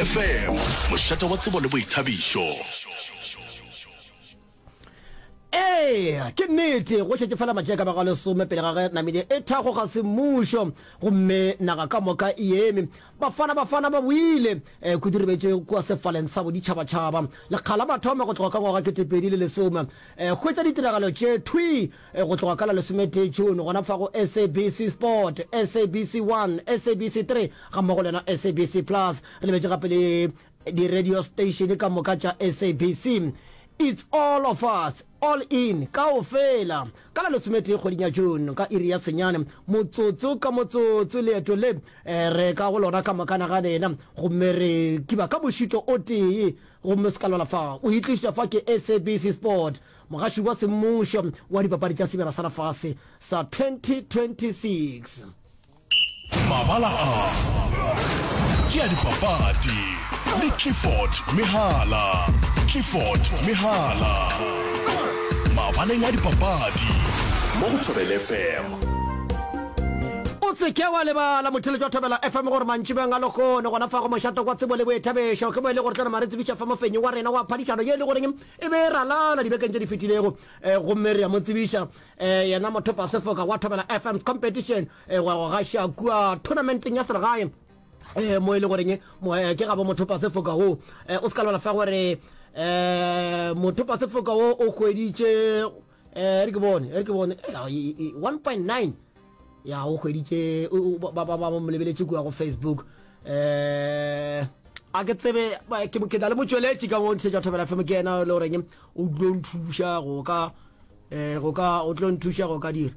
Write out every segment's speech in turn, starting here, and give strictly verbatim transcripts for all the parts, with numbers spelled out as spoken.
Thobela F M, mošate wa tsebo le boithabišo. Ee, ke nnete, go šetše fela matšatši a ka bago a lesome pele ga ge Namibia e thakgoga semmušo gomme naga ka moka e eme. Bafana Bafana ba boile kudu re betše kua sefaleng sa boditšhabatšhaba lekga la mathomo go tloga ka ngwaga ketepedi le lesome. Hwetša ditiragalo tše thwii go tloga ka la lesometee June gona fa go S A B C Sport, S A B C one, S A B C three gammogo le yona S A B C Plus. Re lebetše gape le di-radio station ka moka tša S A B C. It's all of us, all in, kaofela. Ka la lesometee kgweding ya June ka iri ya senyane motsotso ka motsotso leeto le re ka go lona ka moka naga lena gomme re kiba ka mošito o tee gomme se ka lwala fa o itliša fa ke S A B C Sport, mogaši wa semmušo wa dipapadi tša Sebjana sa Lefase sa twenty twenty-six. Mabala a ke a dipapadi le Clifford Mehala. Clifford Mehala. Mabaleng a dipapadi mo go Thobela F M. O se ke wa lebala, motheeletši wa Thobela F M, gore mantšibeng a lehono gona fa go mošato kwa tsebo le boithabišo ke mo e le gore tlo nama re tsebiša fa mofenyi wa rena wa phadišano ye e le goreng e be e ralala dibekeng tše di fetilego, gomme re a mo tsebiša yena mothopa sefoka wa Thobela F M's competition wa go gaša kua tournamenteng ya selegae mo e le goreng ke gabo mothopa sefoka wo. O se ka lebala fa gore mothopa sefoka wo o hweditše, re ke bone re ke bone, one point nine ya o hweditše, ba ba ba mo lebeletše kua go Facebook. um a ke tsebe, ke na le motšweletši ka mo ntshetša Thobela F M, ke yena le goreng o tlo nthuša go ka um go ka o tlo nthuša go ka dira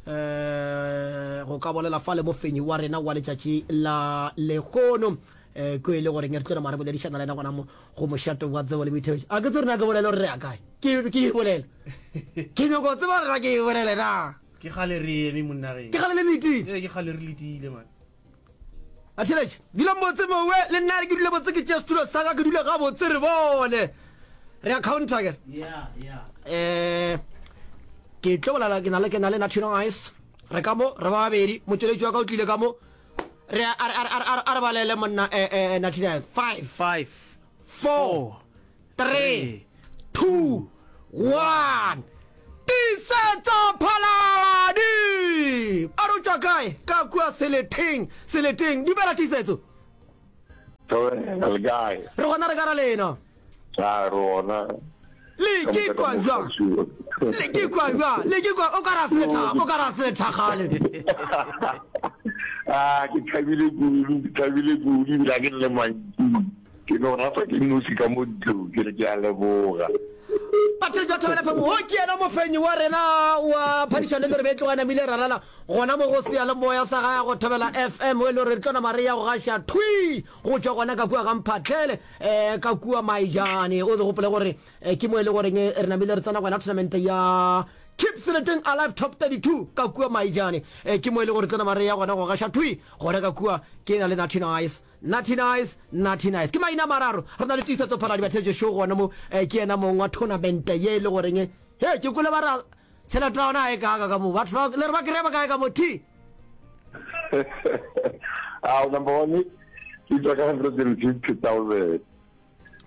um go ka bolela fa le mofenyi wa rena wa letšatši la lehono, um ke e le goreng re tlo nama re boledišana le yena gona mo go mošato wa tsebo le boithabišo. A ke tse rena ke bolele gore re ya kae, ke ke e bolela, ke nyako tseba rena ke e bolele na. Ke gale re eme, monna ge. Ke gale le letile. Ee, ke gale re letile, man. Batheletše, dulang botse mowe, le nna re ke dule botse, ke tšee setulo sa ka ke dule ga botse, re bone re ya counter ke yeah yeah eh ke tlo bolela, ke na le ke na le Natino Ice, re ka mo re ba babedi, motšweletši wa ka o tlile ka mo, re a re a re a re balele monna, eh eh Natino, five, five, four, three, two, one. Tiisetso Phaladi a re o tšwa kae? Ka kua Seleteng, Seleteng. Dumela, Tiisetso. Thobela, le kae? Re gona, re ka ra lena. A re gona. Le ke kwa bjang? Le ke kwa bjang? Le ke kwa o ka ra setha, o ka ra setha gale. Ah, ke thabile kudu, ke thabile kudu ebile ga ke nne mantši. Ke no rata ke nosi ka mo ntlong, ke re ke a leboga. Batheetši ba Thobela F M, wo ke yena mofenyi wa rena wa phadišano e le gore be e tloga e namile ralala gona mo go seyalemoya sa gae go Thobela F M, e le gore re tlo nama re ya go gaša thwi go tšwa gona ka kua ga Mphatlele, um ka kua Maijane. O gopole gore ke mo e le goreng re namile re tsena gona tournament ya Keep Seleteng Alive Top thirty-two ka kua Maijane, ke mo e le gore tlo nama re ya gona go gaša thwi gona ka kua. Ke na le Natty Nice, Natty Nice, Natty Nice ke maina a mararo. Re na le Tiisetso Phaladi, batheetše show gona mo, ke yena mong wa tournament ye e le goreng he ke kwele ba ra tšhelete ya gona ga e kaka ka mo batho ba le re ba kry-a ba kae ka mo t Ah, number one ke tswa ka hundred and fifty thousand.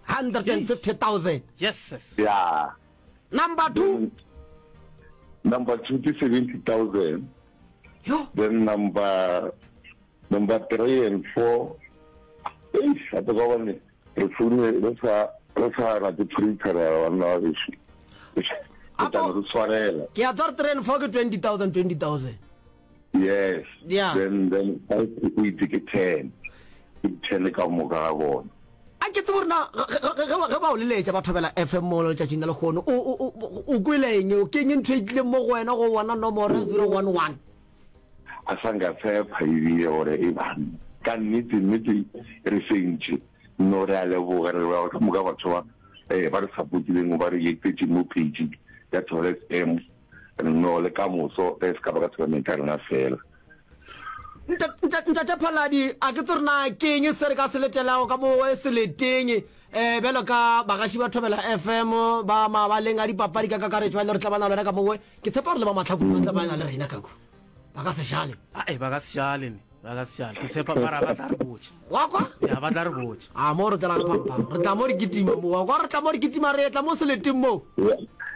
hundred and fifty thousand. Yes, yes. Yeah. Number two? Number two ke seventy thousand. Yo. Then number number three and four, eish, gape ka gobane re foune re sa re sa rate prepare banna ba bešo, re tla no re tshwarela. Ke a tswa re three and four ke twenty thousand, twenty thousand. Yes. Yeah. Then then five to eight ke ten, ke ten ka moka ga bona. A ke tsebe gore na ge ba o leletša ba Thobela F M mo letšatšing la lehono, o o kwele eng, ke eng ntho e tlileng mo go wena go bona nomoro zero one one? A sa nka tshepa ebile gore e bang ka nnete nnete re fentše. No, re a leboga, re leboga ka moka batho ba eh ba re supportileng, ba re etetše mo page ya Thobela F M. No, le ka moso ge e se ka ba ka tournament ya rena fela. Ntate Phaladi, a ke tsebe gore na ke eng se re ka se letelago ka mo seleteng um bjalo ka bagaši ba Thobela F M ba mabaleng a dipapadi ka kakaretšo ba e le gore tla ba na le wena ka mowe. Ke tshepa gore le ba Mahlakong ba tla ba na le rena ka kua. Ba ka se šale. Ae, ba ka se šale ne. Ba ka se ke tshepa mara ba tla re botša. Wa kwa? Ya ba tla re botša. A mo re tla re phampham. Re tla mo re kitima mo. Wa kwa re tla mo re kitima re etla mo seleteng mo.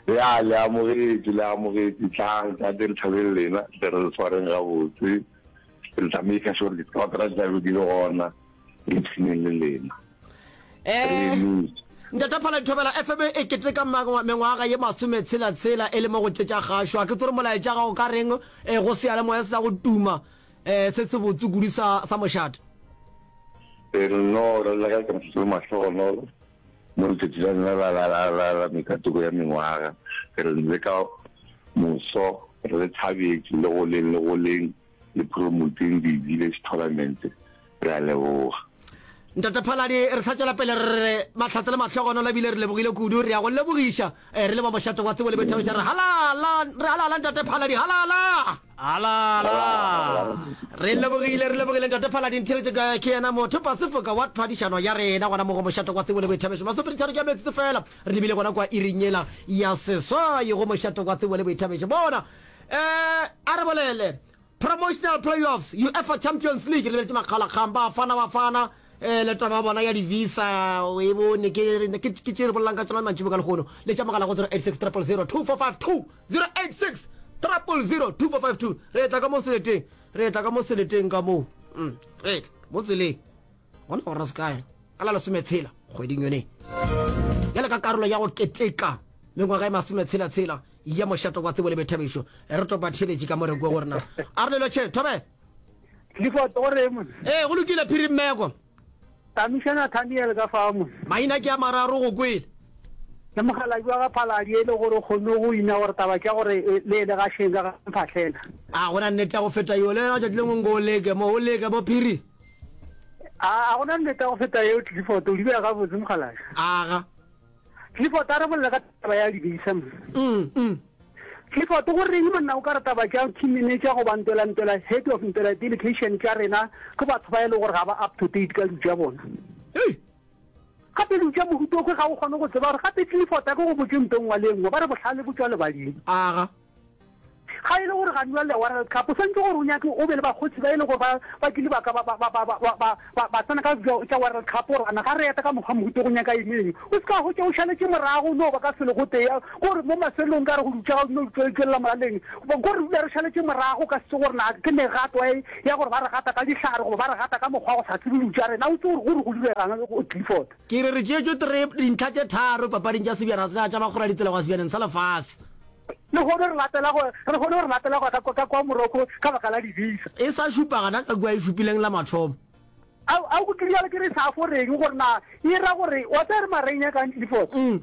Ya le amogetše, le amogetše. Tlang, tate re thabele lena, tle re le swareng gabotse. Re tla make sure ditlhotra di tla be di le gona, re ipshineng le lena. Eh, Ntate Phala Thobela F M e keteka mengwaga ye masometshela-tshela e le mo go tše tša kgašo. A ke tsore molaetša ga o ka reng eh, go seyalemoya se sa go tuma eh, se se botse kudu sa, sa mošate. Re no re leka ka le mahlogonolo mo letšatši la lena la, la, la, la, la mekatoko ya mengwaga. Re le ka moso re le thabetše le goleng le goleng le promoteng di-village tournament. Re a leboga. Ntate Phaladi, re sa tšwela pele re re mahlatse le mahlogonolo ebile re lebogile kudu. Re ya go lebogiša eh, re le ba mošate wa tsebo le boithabišo. Re halala, re halala Ntate Phaladi, halala. Halala. Re lebogile, re lebogile Ntate Phaladi. Ntheletše ka ke yena motho Pasefoka wa phadišano ya rena gona mo go mošate wa tsebo le boithabišo. Masomepedi tharo ke a metsotso fela re lebile gona kwa iring yela ya seswai go mošate wa tsebo le boithabišo. Bona eh, a re bolele promotional playoffs UEFA Champions League re lebeletše makgalakgang Bafana Bafana eh, le taba ya bona ya di-visa o e bone ke ke ke tše re bolelang ka tsona mantšibo ka lehono. Le tša mogala go zero eight six triple zero two four five two, zero eight six triple zero two four five two. Re tla ka mo seleteng, re tla ka mo seleteng ka moo. Mm, re tla mo tseleng gona gore re se kae ka la lesometshela kgweding yone bjale ka karolo ya go keteka mengwaga e masometshela-tshela ya mošato wa tsebo le boithabišo. Re topa theletše ka mo re kwe gore na a re lelo tšhe thobe. Clifford, go reng monna? Ee, go lokile Phiri Mmeko. Tamiša Nathaniel ka fa mo. Maina ke a mararo go kwele. Le mokgalabje wa ga Phaladi e le gore o kgonne go ina gore taba tša gore le e le gašeng ka ga Mphahlela. A gona nnete ya go feta yeo? Le wena tšatši lengwe nko o leke mo, o leke mo Phiri. A gona nnete ya go feta yeo Clifford, o di beya gabotse mokgalabje. Aga. Clifford a re bolele ka taba ya dibesa mo. Mm, mm. Clifford, go reng monna o ka re taba tša team manager goba ntwela ntwela head of ntwela delegation tša rena ke batho ba e le gore ga ba up to date ka dilo tša bona. Hei. Gape dilo tša mohuta o ga o kgone go tseba gore gape Clifford a ke go botše nto nngwe le nngwe ba re bohlale bo tšwa lebading. Aga. Ga e le gore ga nwa le World Cup o swantse gore o nyake o be le bakgotsi ba e le gore ba ba kile ba ka ba ba ba ba ba ba ba ba tsena ka tša World Cup gore ana ga re eta ka mokgwa mohuta go nyaka eng eng o se ka hwetša o šaletše morago no ba ka selo go tee gore mo mafelong ka re go dutša ga no tšwelela molaleng gore re dula re šaletše morago ka se gore na ke megato e ya gore ba re gata ka dihlare goba ba re gata ka mokgwa go sa tsebe dilo tša rena o tse gore gore go diregang go Clifford. Ke re re tšeetšwe tre dintlha tše tharo papading tša sebjana tša tša bakgora ditsela go ya sebjaneng sa lefase. Le kgone re latela go re kgone re latela go ka ka kwa Morocco ka baka la di-visa. E sa šupa gana ka kua e šupileng la mathomo. A a go ke ke re sa fo reng gore na e ra gore wa tsaya re mareng ya kang Clifford. Mm.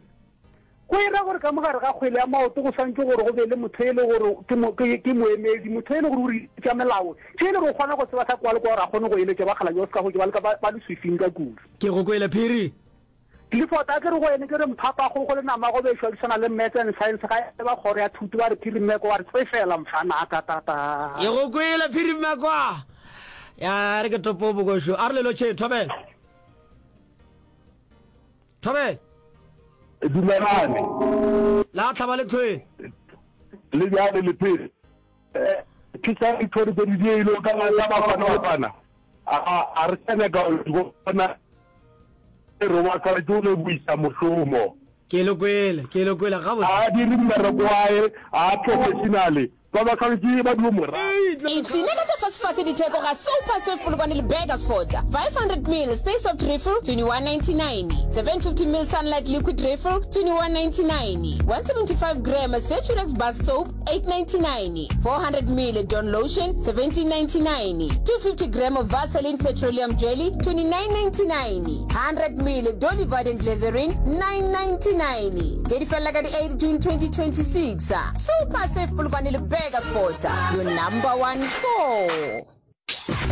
Go e ra gore ka mogare ga kgwele ya maoto go swantse gore go be le motho e le gore ke mo ke ke moemedi motho e le gore o re tša melao tše e le gore o kgona go tseba sa kwa le kwa gore a kgone go eletša ba kgala jo se ka go ba le ka ba le swifing ka kudu. Ke go kwele Phiri. Clifford a ke re go ene ke re mphapa go go le nama go bešwa di swana le maths and science ga e ba kgoro ya thuto ba re Phiri Mmeko wa re tsefela mfana ta ta ta. Ke go kwele Phiri Mmeko. Ya re ke topo bokošo. A re lelo tšhe thobela. Thobela. Dumelane. La tlhaba le tlhwele. Le bjale le phele. Ke tsa dithori tse di dielo ka la Bafana Bafana. A a re sa nyaka go bona re wa swanetše go leboisa mošomo. Ke le kwele, ke le kwele gabotse. A dire mmereko wa hae, a professional, ba ba swanetše ba dio mo rata. Ipshine ka tša fasefase ditheko ga Super Save Polokwane le Burgersfort. five hundred mil Stay Soft Refill twenty-one ninety-nine, seven fifty mil Sunlight Liquid Refill twenty-one ninety-nine, one seventy-five gram Saturex Bath Soap eight ninety-nine, four hundred mil Dawn Lotion seventeen ninety-nine, two fifty gram Vaseline Petroleum Jelly twenty-nine ninety-nine, hundred mil Dolly Varden Glycerin nine ninety-nine. Tše di felela ka di eight June twenty twenty-six. Super Save Polokwane le Burgersfort, your number one store.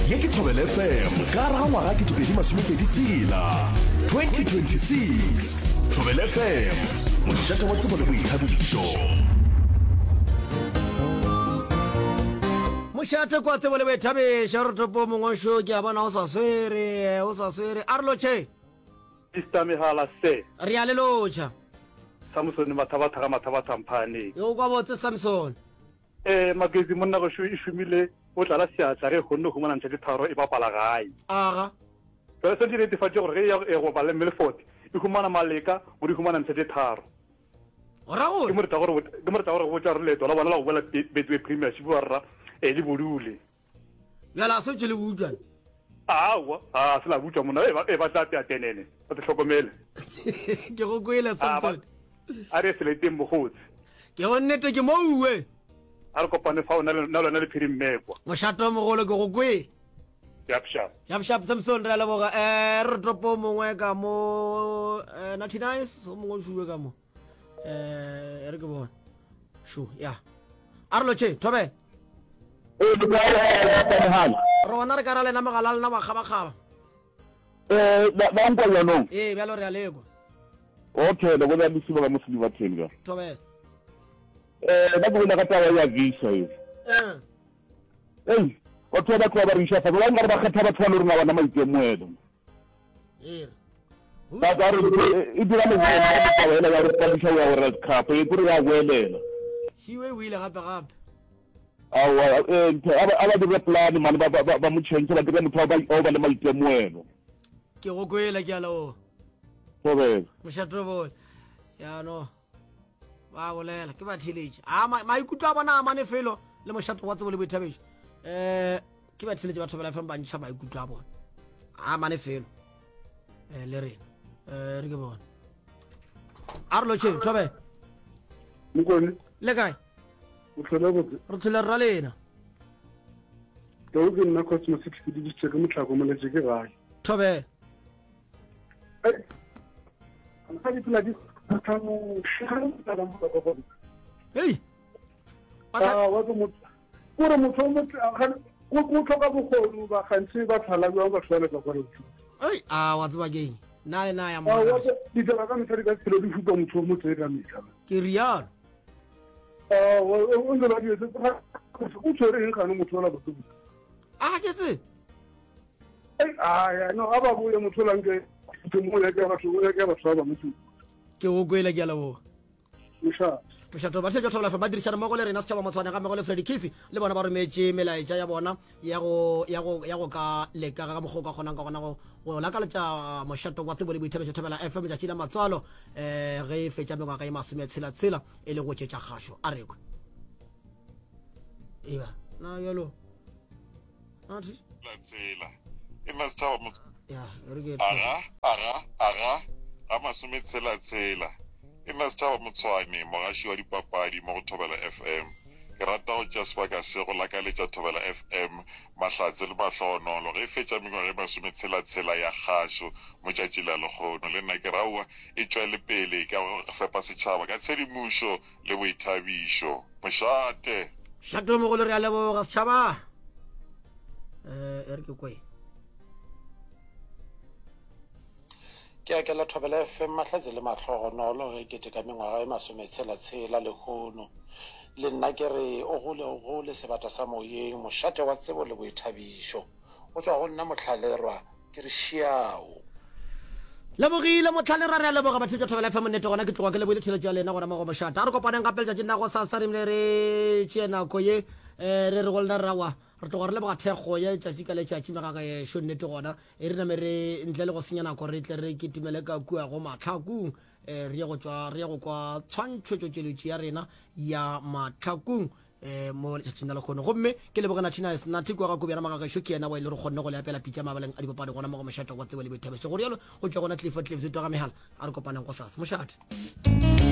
Ye ke Thobela F M ka gare ga ngwaga ketepedi masomepedi tshela twenty twenty-six. Thobela F M, mošate wa tsebo le boithabišo. Mošate kwa tsebo le boithabišo, re topo mongwe šo ke a bona o sa swere, o sa swere. A re lotšhe. Mister Mehala se. Re a le lotšha. Samson Mathabatha ga Mathabatha Mphane. Yo kwa botse Samson. Eh Magezi monna go e šomile o tlala seatla ge e kgonne go humana ntlha tše tharo e bapala gae. Aga. Jwale swanetše e netefatše gore ge e ya go bapala le Milford e humana maleka gore e humana ntlha tše tharo. Go ra gore? Ke mo re tlago re ke mo re tlago re botša gore leeto la bona la go boela Betway Premiership ba rra eh, le bodule. Bjale a se tšwe le butšwa. Aowa, a se la butšwa monna, e ba e ba tla tea tenene, ba te hlokomele. Ke go kwele Samson. A re seleteng bogotsi. Ke go nnete ke mouwe. A re kopane fao na le wena le Phiri Mmekwa. Mošate o mogolo ke go kwele. Shap shap. Shap shap Samson re a leboga. Eh re topo mongwe ka mo eh Natty Nice o mongwe o šuwe ka mo. Eh re ke bone. Shu ya. A re lotšhe thobela. Ee, le kae Rona re ka ra lena mogala lena wa kgabakgaba. Eh, ba nkwa jaanong? Ee, bjalo re a lekwa. Okay, le bolela le Siba ka mo Silverton ka. Thobela. Eh, ba ke bolela ka taba ya visa e. Eh. Ei, batho ba ba tloga ba re iša fatshe, ba nkare ba kgetha batho ba le rona bana maitemogelo. Ee. Ba ka re e dira leboela taba ela ya re padiša ya World Cup, e kore ya boelela. Šiwe o ile gape gape. Aowa, eh, ntho, a ba, a ba dire plan mane, ba, ba, ba, ba mo change, ba dire motho wa ba, wa ba le maitemogelo. Ke go kwele, ke a leboga. Thobela. Mošatobole. Ya no. Ba bolela, ke ba theletše. A ma, maikutlo a bona a mane felo le mošato wa tsebo le boithabišo. Eh, ke ba theletše ba Thobela F M ba ntšha maikutlo a bona. A mane felo. Eh, le rena. Eh, re ke bona. A re lotšheng, Thobela. Mokone. Le kae? O tlhole botse. Re tlhole rra lena. Tau ke nna Cosmo Six ke dudisitse ke motlhako moletše ke gae. Thobela. Ga di phela di Hey. Ah, wa ke motho. Kore motho o motho go go tlhoka bokgoni ba gantsi ba tlhala jwang batho ba le ka gore. Ei, a wa tseba ke eng? Nna le na ya Ah, mo. wa ditaba ka metlha di ka se phele di fupa motho o motho ka metlha. Ke rialo. Ah, o ntse ba di etse o tshwere eng gane motho ola botse. A ke tse. Ei, ah, ya no a ba boye motho ola nke ke mo ya ke batho ya ke batho ba bangwe. Ke go kwele ke a leboga. Mošate. Mošato ba šetša Thobela F M ba dirišana mmogo le rena setšhaba Motshwane ga mmogo le Freddy Kisi le bona ba rometše melaetša ya bona ya go ya go ya go ka leka ka mokgwa o ka kgonang ka gona go go lakaletša mošato wa tsebo le boithabišo Thobela F M letšatši la matswalo eh ge e fetša mengwaga e masometshela tshela e le go tšetša kgašo a rekwe eba na bjalo Athi la tsela e nna setšhaba motse ya re ke aga aga aga ga masometshela tshela e nna setšhaba Motshwane mogaši wa dipapadi mo go Thobela F M ke rata go tšea sebaka se go lakaletša Thobela F M mahlatse le mahlohonolo ge e fetša mengwaga e masometshela tshela ya kgašo mo tšatši la lekgono le nna ke re aowa e tšwele pele ka go fepa setšhaba ka tshedimošo le boithabišo mošate. Šato mogolo re a leboga setšhaba. Eh, e re ke kwe. Ke akela Thobela F M mahlatse le mahlogonolo ge keteka mengwaga e masometshela-tshela lehono. Le nna ke re o gole o gole sebata sa moyeng, mošate wa tsebo le boithabišo. Go tšwa go nna Mohlalerwa, ke re šiao. Lebogile Mohlalerwa, re a leboga batheetši ba Thobela F M nnete gona ke tloga ke lebohile theeletšo ya lena gona mo go mošate. A re kopaneng gape letšatšing la gosasa re bile re tšee nako ye eh, re re go lena rrawa re tloga re leboga thekgo ya letšatši ka letšatši megagešo nnete gona e re name re ntle le go senya nako re tle re kitimele ka kua go mahlakong eh, re ye go tšwa re ye go kwa tshwantšhetšo ya rena ya mahlakong eh, mo letšatšing la lekgono gomme ke leboge Nathi Nice Nathi kwa ga Kobjana magagešo ke yena wa ile re kgonne go le apela pitša mabaleng a dipapadi gona mo go mošate wa tsebo le boithabišo go rialo go tšwa gona Clifford Cliffs twa ga megala a re kopaneng go sasa mošate.